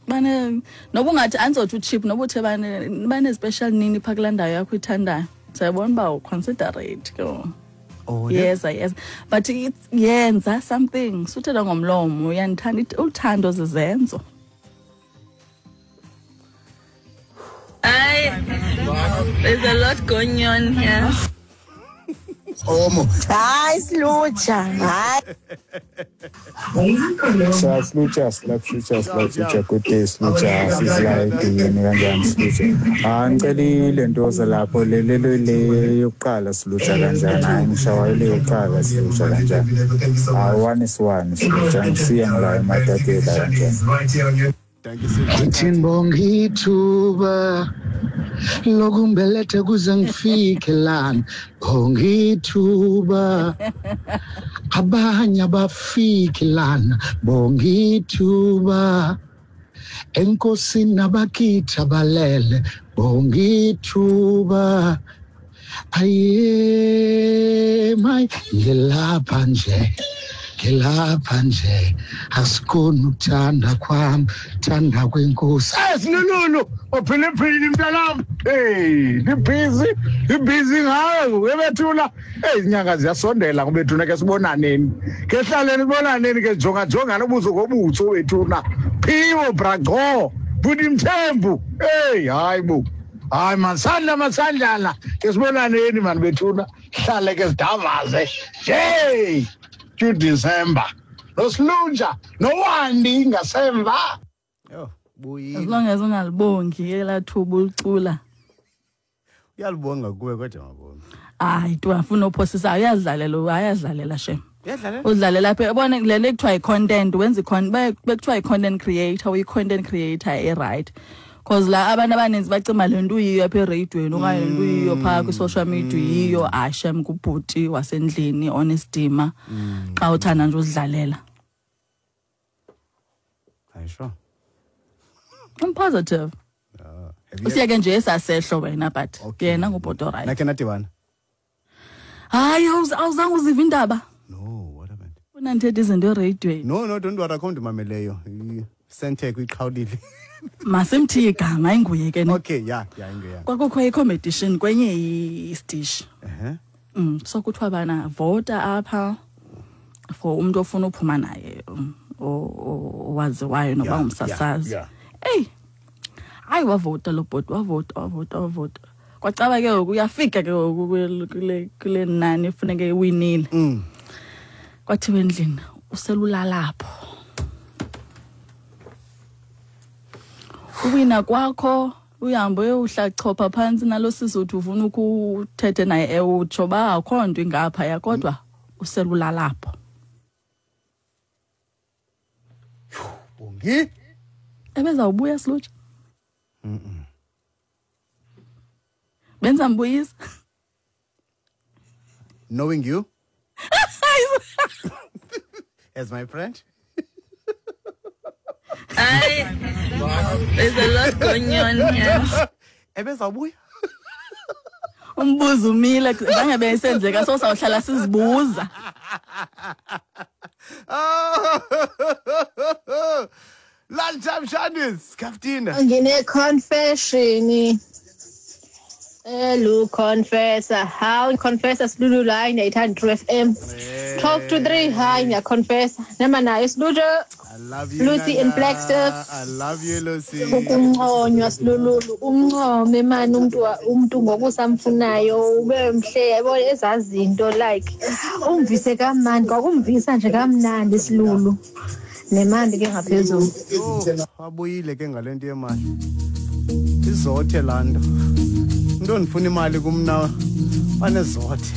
Bane noba ungathi andizothi u-cheap, noba uthe bane-special nini phaa kulaa ndawo yakho uyithandayo, sayibona uba u-considerate ke ngoku. Oh, ne? Yeza, yeza, but yenza something, suthetha ngomlomo uyandithanda. Uthando zizenzo. Ay, there's a lot going on here. Omo. Hayi Silutsha, hayi. Sa Silutsha, Silutsha, Silutsha, good day Silutsha, sizila edini kanjani Silutsha? Ah, ngicela ile ntoza lapho le le le le yokuqala Silutsha kanjani? Hayi ngishawayo le yokuqala Silutsha kanjani? Ah, one is one Silutsha, ngisiya ngila eMatatiele kanjani? Ngithi ngibonga ithuba lokumbeletha kuze ngifike lana, bonga ithuba, abanye abafiki lana, bonga ithuba, enkosini abakithi abalele, bonga ithuba, aye mayi ngilapha nje, ngilapha nje, asikhoni ukuthanda kwami, thanda kwenkosi. Esilululu ophiliphili mntanam, hey, ndibhizi, ndibhizi ngawe ebethula. Hey, izinyanga ziyasondela ngobethuna, ke sibonaneni, ke hlaleni sibonaneni, ke jonga jongana ubuso ngobuso bethuna. Phiwo braco bhuti Mthembu, hey, hayi bo, hayi masandla masandlana, ke sibonaneni mani bethuna, hlale ke sidavaze nje to December nosilunja nowandi ngasemva. Yho, buyile. As long as ungalibongi elaa thuba ulicula. Uyalibonga kuwe kodwa mabonga. Hayi, tu afuna uphosisa, uyazidlalela, ayazidlalela shem. Uyadlalela? Udlalela apha, yabona le nto ekuthiwa yi-content, wenza bekuthiwa yi-content creator, uyi-content creator e-right. Because la abantu abaninzi bacima le nto uyiyo apha ereyidweni okanye le nto uyiyo phaa kwi-social media uyiyo, hayi shem, ngubhuti wasendlini onesidima xa uthanda nje uzidlalela. Hayi, sure. I'm positive. Have you Usiyeke nje esasehlo wena, but Okay. yena ngubhuti o-right. Nakhe nadibana? Hayi, awuzange uzive indaba. No, what happened? Funa ndithethe izinto ereyidweni. No, no, don't worry, akho ndimameleyo. Sentech uyiqhawulile. Masimthiye igama, inguye ke ne. Okay, yeah, yeah, inguye. Kwakukho i-competition kwenye isitishi. So kuthiwa bana vota apha for umuntu ofuna uphuma naye, owaziwayo noba ngumsasazi. Eyi, hayi wavota lo bhoti, wavota, wavota, wavota. Kwacaba ke ngoku uyafika ke ngoku kule nani funeke iwinile. Kwathiwa endlini uselulalapho. Uwina kwakho uhambe uyohlachopha phantsi nalo sisi uthi ufuna ukuthethe naye, utsho ba akho nto ingaphaya kodwa uselulalapho. Bongi? Ebezawubuya Silutsha? Benza mbuyisa. Knowing you as my friend. Ay, there's a lot going on here. Ebezawubuya? Umbuzo umile, zange beyisenzeka, so sawuhlala sizibuza. Lunchtime Shandis, Kaftina. Ngine confession. Hello confessor. How confessor Silulu la ngiyayithanda True FM. 12 to 3, hi ngiyaconfessa. Nama nayo Silulu. I love you, Lucy in Nana. Flagstaff. I love you, Lucy. Ukunconywa Silulu, umncome mani umuntu ngokusamfunayo ube mhle, yabo ezazinto like umvise kamnandi, kwakumvisa nje kamnandi Silulu. Nemali ke ngaphezulu. Oh, wabuyile ke ngale nto yemali. Izothe laa nto. Into ndifuna imali kumna banezothe.